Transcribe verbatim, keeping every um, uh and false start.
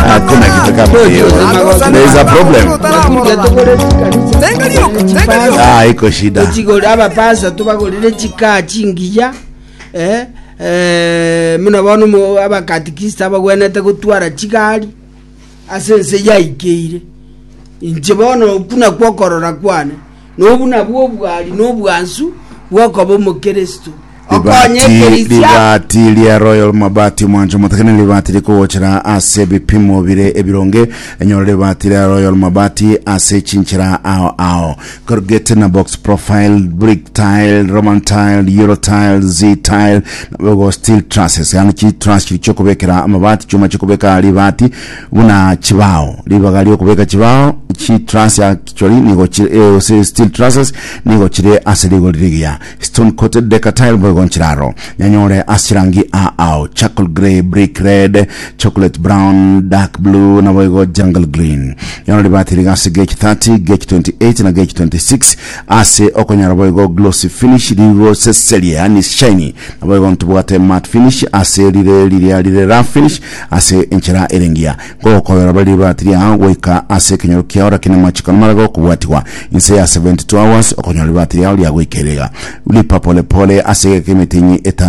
Hakuna kitu kama hiyo. There is a problem. Ah, iko shida. Tochigore abapasa, tobagorere chikaa chingiya, eh, eh, muna bono mo- abakatikista abagwenete gotwara chigari ase ense yaikeire. Inche bono okuna kwokorora kwane nobu nabwo obwari na obwansu bwokoba omokristo okonye Ribati, ekerisia. Ribati ria Royal Mabati, mwancho motakene, ribati rikogochera ase ebipimo bire ebironge. Enyore ribati ria Royal Mabati ase chinchera ao ao: corrugated na box profile, brick tile, Roman tile, Euro tile, Z tile, nabogo steel trusses, yani chi truss chiri chokobekera amabati, chuma chokobeka ribati buna chibao, ribaga riokobeka chibao. Chi truss actually nigo chire, eh, ose steel trusses nigo chire ase rigori rigiya. Stone coated deca tile boigo nchiraro nyanyore ase chirangi a ao: charcoal grey, brick red, chocolate brown, dark blue naboigo jungle green. Nyoro ribati riga ase gauge thirty, gauge twenty-eight na gauge twenty-six ase okonyora boigo glossy finish rigoseseria, yani shiny, naboigo ntubwate matte finish ase rire riria rire rough finish ase enchera erengia. Gokobera bari ribati riao goika ase ekenyoro kiao, lakini machiko namaraga okobwatigwa inse ya seventy-two hours okonyora ribati riao riagoikerega. Lipa polepole ase egeka emitinyi etano.